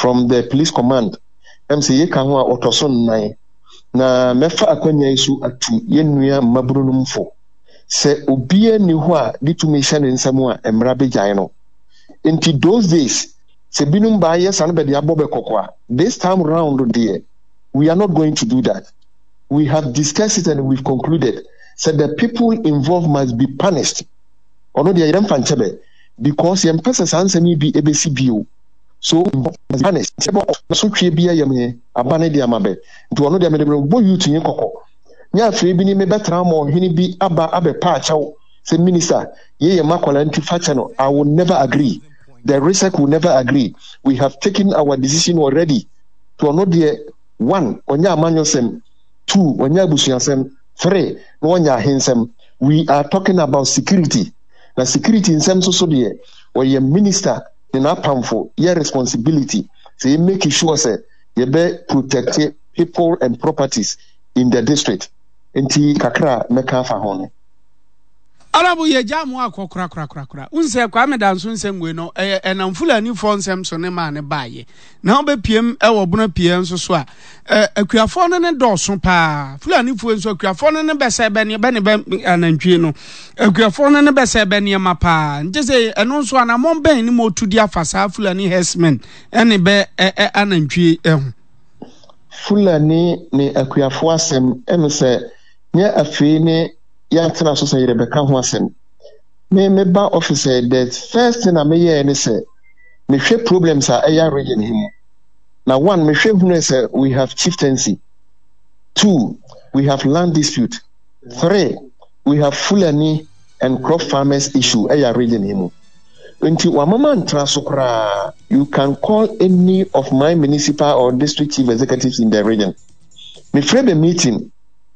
from the police command. Ɛm sɛ yei ka ho a ɔtɔ so nnan. Na mɛfa akwanya yi so atu yɛn nua mmabunu nom fo sɛ obiara nni hɔ a de tumi hyɛ ne nsa mu a mmara bɛgyae no. Nti those days sɛ binom baa yɛ saa no bɛde abɔ bɛ kɔkɔ a, this time round deɛ we are not going to do that. We have discussed it and we've concluded sɛ the people involved must be punished. Ɔno deɛ yɛmfa nkyɛ bɛ because yɛmpɛ sɛ saa nsɛm yi bi ɛbɛsi bio. So punished. Sɛ bɔ asotweɛ bi ayam he, aba ne de ama bɛ. Nti ɔno deɛ mede merebɔ youth he kɔkɔ. Nyɛ afei bi ne mebɛtena ama ɔhene bi aba abɛpa akyɛw sɛ minister, yei yɛ m'akwadaa nti fa kyɛ no. I will never agree. The RESEC will never agree. We have taken our decision already. Nti ɔno deɛ, one, ɔnyɛ amanyɔsɛm, two, ɔnyɛ abusuasɛm, three, na ɔnyɛ ahensɛm. We are talking about security. Na security nsɛm nso so deɛ, ɔyɛ minister ne n'apamfo yɛ responsibility sɛ yɛ make sure sɛ yɛbɛ protect people and properties in the district. Nti kakra a mɛka afa ho no. Honourable yɛgyaa mo akɔ korakorakorakora. Wohu sɛ Kwame Danso nsɛm wei no, ɛyɛ ɛnam Fulanifoɔ nsɛm so ne maa ne baayɛ. Na wobɛpiem wɔ Bono pie nso so a, akuafoɔ no ne dɔɔso paa. Fulanifoɔ nso akuafoɔ no ne bɛsɛ bɛ ne bɛ ne bɛ anantwie no. Akuafoɔ no ne bɛsɛ bɛ nneɛma paa. Nti sɛ ɛno nso anammɔn bɛn ne mo tu de afa saa Fulani herdsmen ne bɛ anantwie ho? Fulani ne akuafoɔ asɛm ɛne sɛ nyɛ afei ne yɛatena so sɛ yɛrebɛka ho asɛm. Me meba office ɛ, the first thing a meyɛɛ ne sɛ mehwɛ problems a ɛya region he mu. Na one, mehwɛ hunuɛ sɛ we have chieftaincy, two, we have land dispute, three, we have Fulani and crop farmers issue ɛya region he mu. Nti wama mantra so koraa, you can call any of my municipal or district chief executives in the region. Mefrɛ bɛ meeting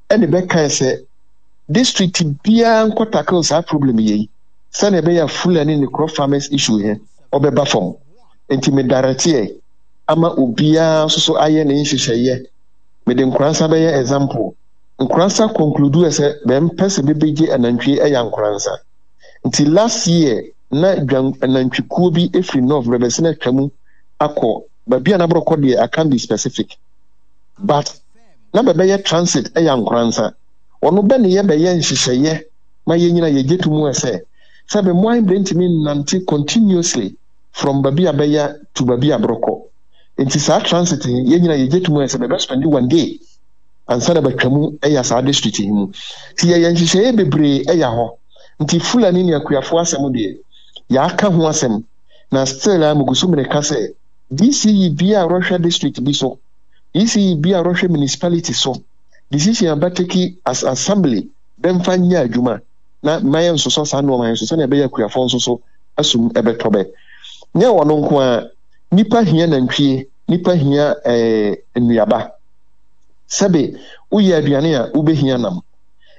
ɛne bɛkae sɛ district biara nkɔ tackle saa problem yei sɛnea ɛbɛyɛ a Fulani ne crop farmers issue he ɔbɛba fam. Nti me directeɛ ama obiara nso so ayɛ ne nhyehyɛeɛ. Mede Nkoransa bɛyɛ example. Nkoransa concludeɛ sɛ bɛmpɛ sɛ bɛbɛgye anantwie ɛya Nkoransa. Nti last year na dwan anantwikuo bi firi North bɛbɛsene atwa mu akɔ baabi a na borɔkɔ deɛ I can't be specific but na bɛbɛyɛ transit ɛyɛ Nkoransa. Ɔno bɛ ne yɛ bɛyɛ nhyehyɛeɛ ma yɛ nyina yɛgye to mu sɛ sɛ bɛ mmoa bɛntumi nnante continuously from baabi a bɛya to baabi a borɔkɔ. Nti saa transit he yɛ nyina yɛgye to mu sɛ bɛbɛ spend one day ansa na bɛatwa mu ɛya saa district he mu. Nti yɛyɛ nhyehyɛeɛ bebree ɛya hɔ. Nti Fulani ne Akuafoɔ asɛm deɛ yɛaka ho asɛm na still a megu so mereka sɛ DCE biaa a rɔhwɛ district bi so, DCE biaa a rɔhwɛ municipality so, decision a bɛtake as assembly bɛmfa nyɛ adwuma na mma yɛnsosɔ saa nnoɔma he so sɛnea ɛbɛyɛ akuafoɔ nso so asum ɛbɛtɔ bɛ. Nyɛ ɔno nko ara, nnipa hia nantwie, nnipa hia eh, nnuaba. Sɛbe woyɛ aduane a wobɛhia nam.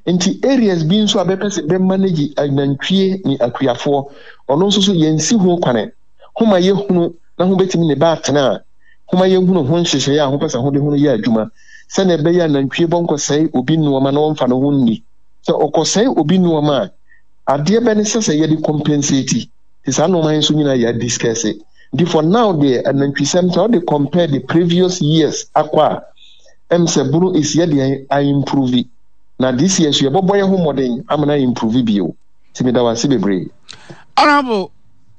Nti areas bi nso a bɛpɛ sɛ bɛ manage anantwie ne akuafoɔ, ɔno nso so yɛnsi ho kwane. Homa yɛhunu na ho bɛtumi ne bɛ atena a, homa yɛnhunu ho nhyehyɛeɛ a hopɛ sɛ hode ho no yɛ adwuma sɛnea ɛbɛyɛ a nantwie bɔnkɔsɛe obi nnoɔma na ɔmfa ne ho nni. Sɛ ɔkɔsɛe obi nnoɔma a, adeɛ bɛ ne sɛ sɛ yɛde compensate. Nti saa nnoɔma yi nso nyinaa yɛ discuss. Nti for now deɛ anantwisɛm sɛ wode compare the previous years akɔ a, ɛm sɛ Bono is yɛ deɛn a improve. Na this year nso yɛbɔbɔ yɛ ho mmɔden ama no a improve bio. Nti meda wo ase bebree. Honourable,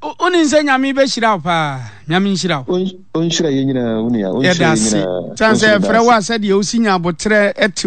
wonim sɛ Nyame bɛhyira wo paa. Nyame nhyira wo. Ɔnhyira yɛn nyinaa, wo nua. Ɔnhyira Yɛda yɛn ase. nyinaa. Sane Wo nso sɛ meda yɛfrɛ wo ase. a sɛdeɛ wosi nya aboterɛ te.